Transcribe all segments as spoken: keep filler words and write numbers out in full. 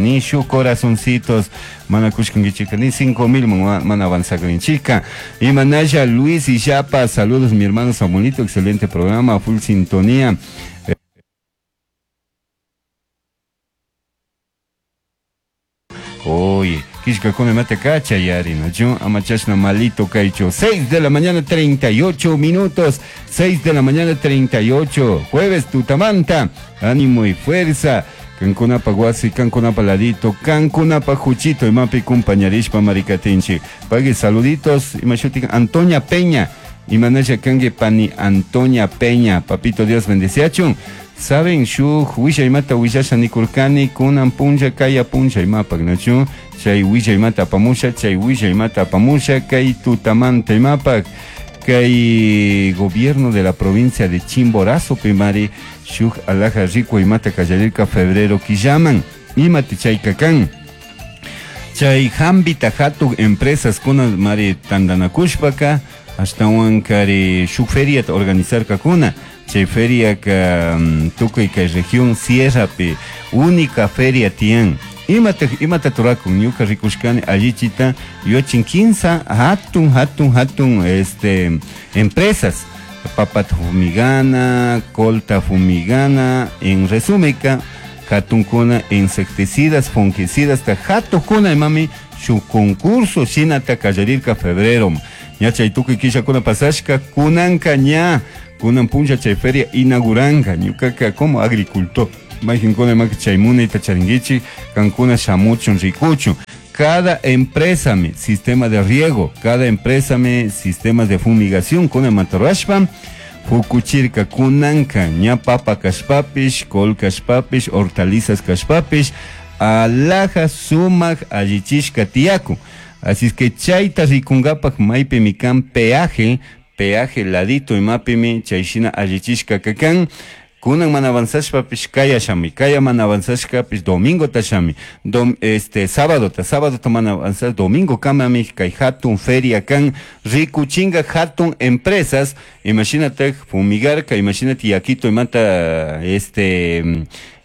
Ni shu corazoncitos mana kushkankichika ni cinco mil mana avanzakrinchika. Imanaya Luis y Yapa, saludos mi hermano Samuelito, excelente programa, full sintonía. Oye, kishkakuna mata kacha yari, ¿no? Amachashna malito kaicho. seis de la mañana treinta y ocho minutos. seis de la mañana treinta y ocho. Jueves tutamanta. Ánimo y fuerza. Cancunapa guasi, cancunapa ladito, cancunapa juchito, imapi compañerishpa maricatinchi. Pague saluditos, imashuti Antonia Peña. Imanaya kangue pani Antonia Peña. Papito Dios bendeciachun. Saben, shuj wisha imata wishasha nikurkani, kunan puncha kaya puncha imapak, nachu? Chay wisha imata apamusha, chay wisha imata apamusha, kay tutamanta imapak. Kay gobierno de la provincia de Chimborazo, primari, shuj alaja rico imata kallalirka febrero killaman, imati chay kakan. Chay hambita hatuk empresas kunan mari tandanakushpaka, ashtawan kari shuk feria organizar kakuna. Chay feria ka tukuy kay región Sierra pe única feria tian. Imata imata turakun ñuka rikushkani allichita yochin quinza hatun hatun hatun este empresas papat fumigana, colta fumigana, en resumen hatunkuna insecticidas, fungicidas ta hatukuna imami su concurso shinata kallarirka febrero. Ña chay tukuy killakuna pasashka kunanka ña kunan puncha chay feria inauguranga ñukaka como agricultor majinkuna maki chay munayta charinguichi kankuna shamuchun rikuchun. Cada empresa mi sistema de riego, cada empresa mi sistemas de fumigación kuna matarashpa fukuchirka kunanka ña papa kashpapish, col kashpapish, hortalizas kashpapish, alaja sumak allichishka tiyaku. Así es que chayta rikungapak maypi mikan peaje, peaje ladito imapimi chayshina allichishka kakan. Kunan mana avanzashpapish kaya shami, kaya mana avanzashkapish domingo ta shami, dom, este sábado ta, sábado ta mana avanzar, domingo kamami kay hatun feria kan, rikuchinga hatun empresas, imagínate fumigarka, imagínate yakito imata este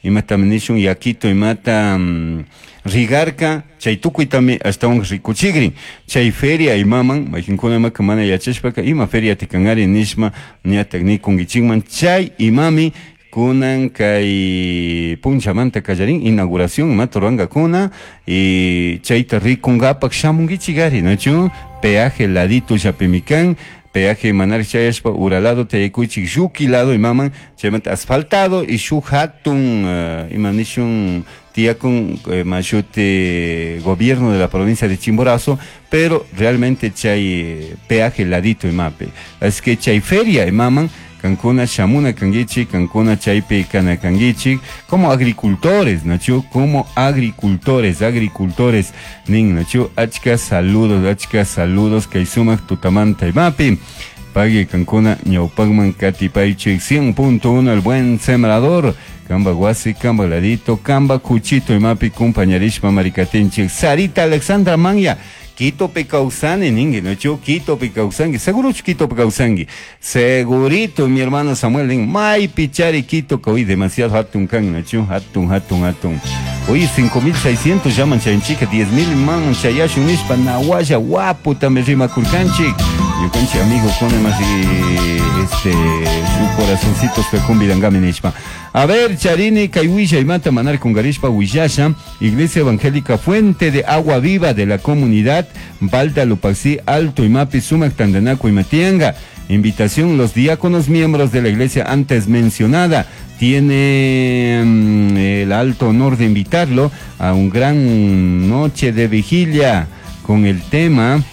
imata nishun yakito imata um, rigarka, chay tukuytami ashtawan rikuchigrin, chay feria imaman, majinkuna imaka mana yachashpaka, ima feria tikanari nishma, ñatak nikunkichikman, chay imami kunan kay punchamanta kallarin, inauguración imata ruwankakuna, y chayta rikunkapak shamunkichikari, nachu, peaje ladito llapimikan, peaje manar chayashpa uralado tayakuychik lluki lado imaman, chaymanta asfaltado y shuk hatun uh, imanishun tiyakun eh, mashute gobierno de la provincia de Chimborazo, pero realmente chay peaje ladito imape. Así que chay feria imaman, kankuna shamuna kanguichi, kankuna chaypi kana kanguichi, como agricultores, nachu, como agricultores, agricultores, nin, nachu, achka saludos, achka saludos, kay sumak tutamanta imapi. Pague kankuna ñawpakman katipaychik cien punto uno el buen sembrador, kamba guasi, kamba ladito, kamba cuchito imapi compañerishpa maricatinchik. Sarita Alexandra Manya, Quito pecausani, ningue, no yo Quito pecausangui, seguro Quito pecausangui, segurito mi hermano Samuel, nin, may pichari Quito, que hoy demasiado hatun can, no yo, hatun, hatun, hatun. Oye, cinco mil seiscientos llaman chayanchica, diez mil man chayashun nishpa, nahuaya, guapo, también rima curcanchic. Yo canchi amigo, con más este, su corazoncito se convidangame nishpa. A ver, Charini, Kaiwisha y Mata Manar con Garishpa Huillasha, Iglesia Evangélica Fuente de Agua Viva de la Comunidad, Balda Lupaxi, Alto Imapi, Sumac, Tandanaco y Matianga. Invitación, los diáconos miembros de la iglesia antes mencionada tiene mm, el alto honor de invitarlo a un gran noche de vigilia con el tema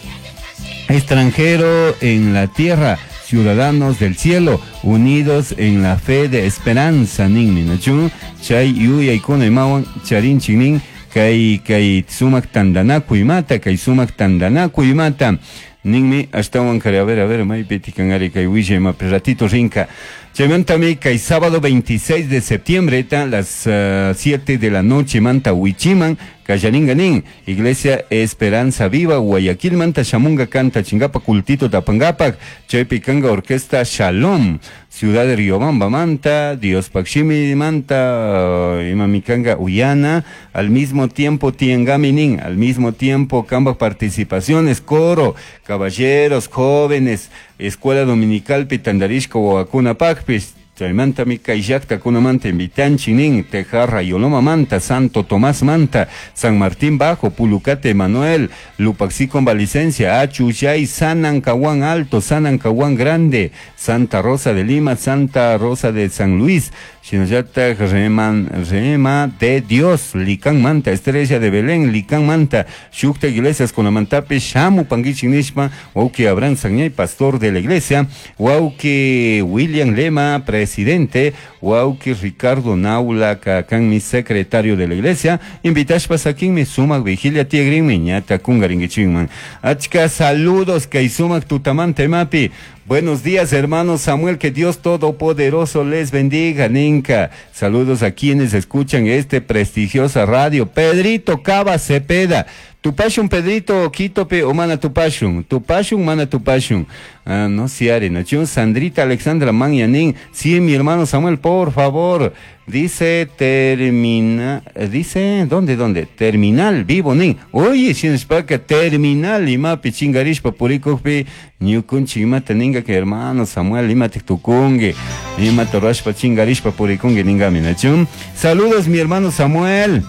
Extranjero en la Tierra, Ciudadanos del Cielo, unidos en la fe de esperanza. Nin minachu, chay yuya ikuna imawan, charin chinin, kay kay sumak tandanaku imata, kay sumak tandanaku imata. Ninmi, ashtawan kare, a ver, a ver, maypi tikanari kay willa ima ratito rinka. Chaymantami kay sábado veintiséis de septiembre, ta, las uh, siete de la noche, manta huichiman, kallaringanin, Iglesia Esperanza Viva, Guayaquil, manta shamunga canta chingapa cultito tapangapak, chaypi kanga orquesta Shalom, Ciudad de Riobamba manta, Dios Pakshimi manta, imamikanga uyana, al mismo tiempo tiangaminin, al mismo tiempo kamba participaciones, coro, caballeros, jóvenes, escuela dominical pitandarishka wawakuna pakpis, chaymanta mi kay llaqtakunamanta invitanchik nin, Tejarra Yoloma manta, Santo Tomás manta, San Martín Bajo, Pulucate Manuel, Lupaxí con licencia, Achuyay, Sanancahuán Alto, Sanancahuán Grande, Santa Rosa de Lima, Santa Rosa de San Luis, Shinallatak Reman, Rema de Dios, Licán Manta, Estrella de Belén, Licán Manta, Shukta Iglesias con la Mantape, Shamu Panguichi Nishma, Wauki Abraham Sañay, pastor de la iglesia, Wauki William Lema, presidente, Wauki Ricardo Naula, mi secretario de la iglesia, invitashpa sakinmi sumak vigilia tiegrinmi, ñata kungaringuichingman. Achka saludos, kay sumak tutamante mapi. Buenos días, hermano Samuel, que Dios Todopoderoso les bendiga, Ninka. Saludos a quienes escuchan este prestigiosa radio. Pedrito Cava Cepeda. Tupashun, Pedrito, Quitope, o mana tupashun. Tupashun, mana tupashun. Ah, no siare, nachun. Sandrita Alexandra Manyanin. Sí, mi hermano Samuel, por favor. Dice, termina, dice, ¿dónde, dónde? Terminal, vivo, nin. Oye, shinspaka, terminal, imapi, chingarishpa, purikukpi, ñukunchi, imata ninga que hermano Samuel, imate tukungue, imata rashpa, chingarishpa, purikungue, ningami, nachun. Saludos, mi hermano Samuel.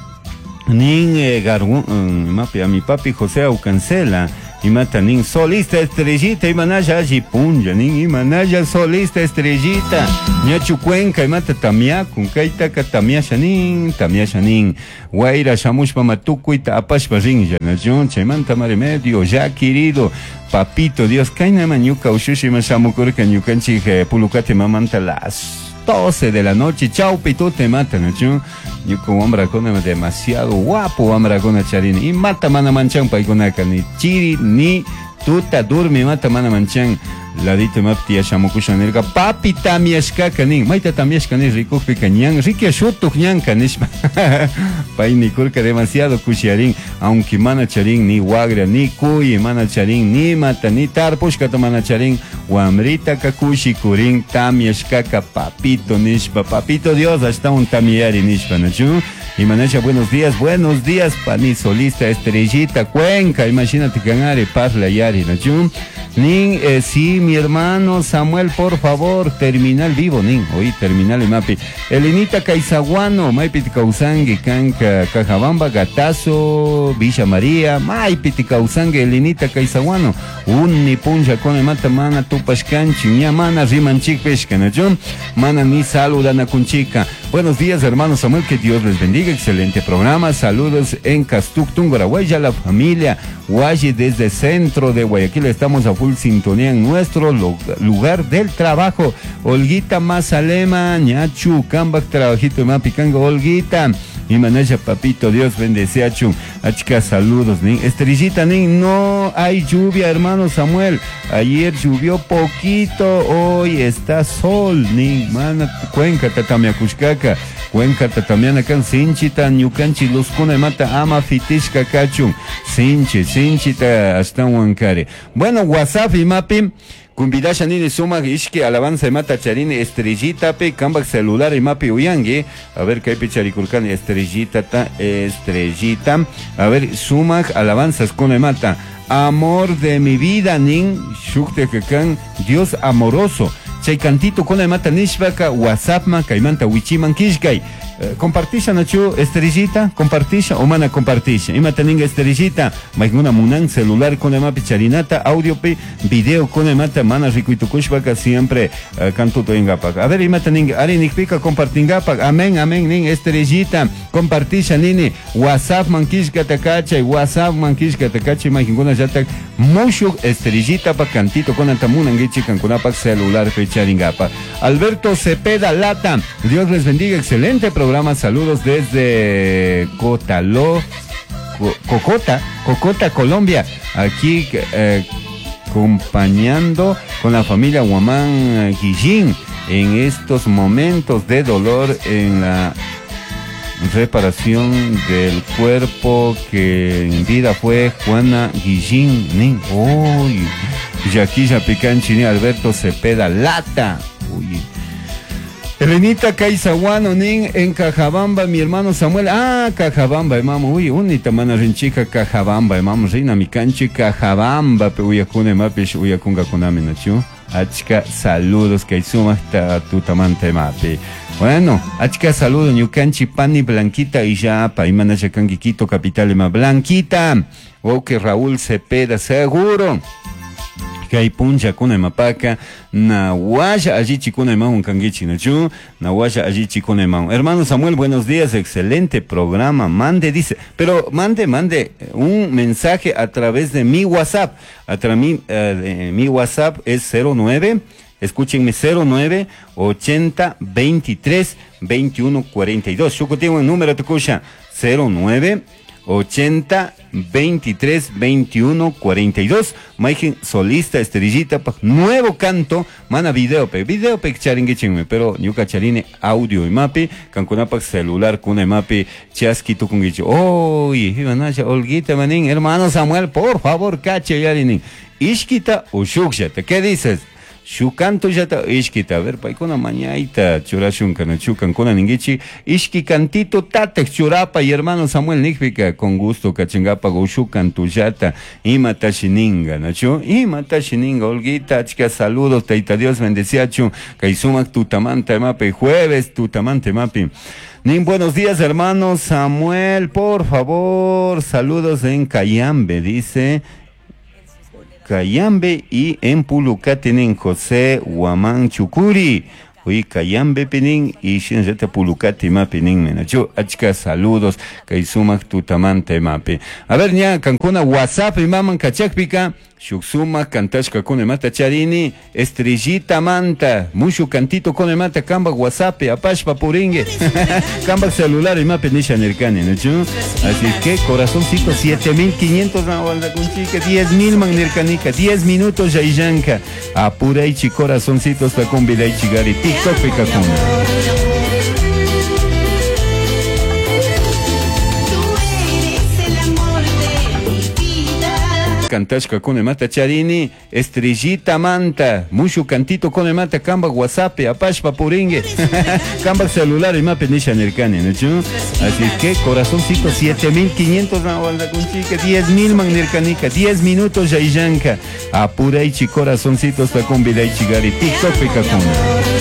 Nin, eh, gargu, imapi, a mi papi José Aucancela. Imata nin solista estrellita, imanaya allí punja, nin imanaya solista estrellita, ñachu cuenca, imata tamiakun, kaitaka tamiasha nin, tamiasha nin, guaira shamushpa matukuita apashpa rinlla, nachun, chaymanta mare medio, ya querido, papito Dios, kainama ñuka ushushi ima shamukurka ñukanchik pulukate mamanta las doce de la noche, chau pitute mata, nachun, ñuka wamrakuna demasiado guapo wamrakuna charini, y mata mana manchan paykunaka, ni chiri ni tuta durmi mata mana manchan, ladito mapti shamukusha nirka, papi tamiashkaka nin, mayta tamiashka nin rikukpika ñan, rikia shutuk ñanka nishpa, pay nikurka demasiado kushiarin, aunque mana charin ni wagra, ni kuyi mana charin, ni mata, ni tarpushkata mana charin, wamritaka kushikurin, tamiashkaka papito nishpa, papito Dios, hasta un tamiari nishpa, nachu. Y Manasha, buenos días, buenos días, pani solista, estrellita, Cuenca, imagínate canare, parla yari, nachu. Nin, eh, sí, mi hermano Samuel, por favor, terminal vivo, nin, oí, terminal y mapi. Elenita Caizaguano, maipiti causangue, canca, Cajabamba, Gatazo, Villa María, maipiti causangue, Elenita Caizaguano, unni punja con mata mana tupashkanchi, ña mana rimanchik peshka, nachu. Mana ni saludana kunchika. Buenos días, hermano Samuel, que Dios les bendiga. Excelente programa. Saludos en Castuc, Tungurahua, la familia Guayi desde centro de Guayaquil. Estamos a full sintonía en nuestro lugar del trabajo. Olguita Mazalema, Ñachu, Cambac, trabajito, Mapicanga, Olguita. Y Manaya, papito, Dios bendice a Chun. Achka, saludos, nin. Estrellita, nin, no hay lluvia, hermano Samuel. Ayer llovió poquito, hoy está sol, nin. Mana, Cuenca, tatamiacushcaca. Cuenca, tatamiana, can, sinchita, ñukanchi, luzcuna, mata, ama, fitishka, kachun. Sinchi, sinchita, hasta huancare. Bueno, WhatsApp y mapi. Kumbidasha nini sumak ishki alabanza mata charini estrellita pe kambak celular y mapi uyangi. A ver kaypi charikurkani estrellita ta estrellita. A ver sumak alabanzas con mata. Amor de mi vida nin shukte kan Dios amoroso. Chay cantito con mata nishpaka WhatsApp ma kaymanta wichiman kishkay. Compartisha nachu estrellita, compartisha o mana compartisha. Imata ninga estrellita, maiguna munan celular con mapi charinata, audio pe, video con mata mana rikuitukushpaka siempre uh, canto toingapak. A ver imata ninga ari nikpika compartingapak. Amén, amén nin estrellita, compartisha nini WhatsApp mankishka takachay, WhatsApp mankishka takachay maiguna yatak mushuk estrellita pa cantito con antamunangichi kankunapak celular pe charingapa. Alberto Cepeda Lata, Dios les bendiga, excelente programa. Saludos desde Cotaló, Co, Cocota, Cocota, Colombia, aquí eh, acompañando con la familia Guamán Guillín en estos momentos de dolor en la reparación del cuerpo que en vida fue Juana Guillín. Nin. Uy, Yaquilla Picanchini, Alberto Cepeda Lata. Uy. Elenita Caizaguano nin en Cajabamba, mi hermano Samuel. Ah, Cajabamba, hermano. Uy, unita mana rinchica Cajabamba, hermano. Reina mi canchi Cajabamba, pe uyakuna mapish uyakunga kunami nachu. Achka saludos kay sumaqta tutamanta imapi. Bueno, achka saludos ñukanchi pani Blanquita y ya pa imanasha kanki Quito capital ima Blanquita. Ok, Raúl Cepeda seguro. Kay punlla kuna imapaka nawasha allichikuna imawan kankichik nachu nawasha allichikuna imawan. Hermano Samuel, buenos días, excelente programa. Mande, dice, pero mande, mande un mensaje a través de mi WhatsApp. A través mi, eh, mi WhatsApp es cero nueve, escúchenme, cero nueve ochenta veintitrés veintiuno cuarenta y dos. Shukutinwan número tukusha cero nueve ochenta veintitrés veintiuno cuarenta y dos. Maijen solista estrellita pa nuevo canto mana video pe video pe charinguichinme pero ñuka charine audio y mapi kankunapak celular kuna mapi chaski tukunguichi. Oy imanasha Olguita manin hermano Samuel, por favor cache yarinin ishkita o shukshata, ¿qué dices? Shukanto yata ishkita, a ver, paikuna mañaita churashunka no chukankuna ningichi ishki cantito tatek churapa y hermano Samuel nikpika con gusto kachingapa go shukanto yata imata shininga nachu imata shininga Olguita achka saludos taita Dios bendeciachu kay sumak tutamanta mapi jueves tutamante mapi. Nin, buenos días, hermano Samuel, por favor, saludos en Cayambe, dice. Cayambe y en Pulucá tienen José Guamán Chucuri. Uy, Cayambe pinin y Shinreta Pulucati mapinin menachu. Achka saludos, Kaisumak tutamante mapi. A ver, ña, Cancuna, WhatsApp y maman kachakpika. Shuksuma, kantashka kune mata charini, estrellita manta, mushu cantito kune mata, kamba WhatsApp, apashpa puringue, kamba celular y mapi nisha nirkani, ¿no? Así que corazoncito, siete mil quinientos diez mil man nirkanika, diez minutos ya illanka, apuraichi corazoncito hasta con vidaichi gari, TikTok pika kuna. Kantashka kune mata charini, estrellita manta, mushu cantito kune mata, kamba WhatsApp, apashpa puringue, kamba celular y mapi nisha nirkani, ¿no? Así que corazoncito, siete mil quinientos diez mil man nirkanika, diez minutos ya illanka, apuraichi corazoncito hasta con vidaichi gari, TikTok pika kuna.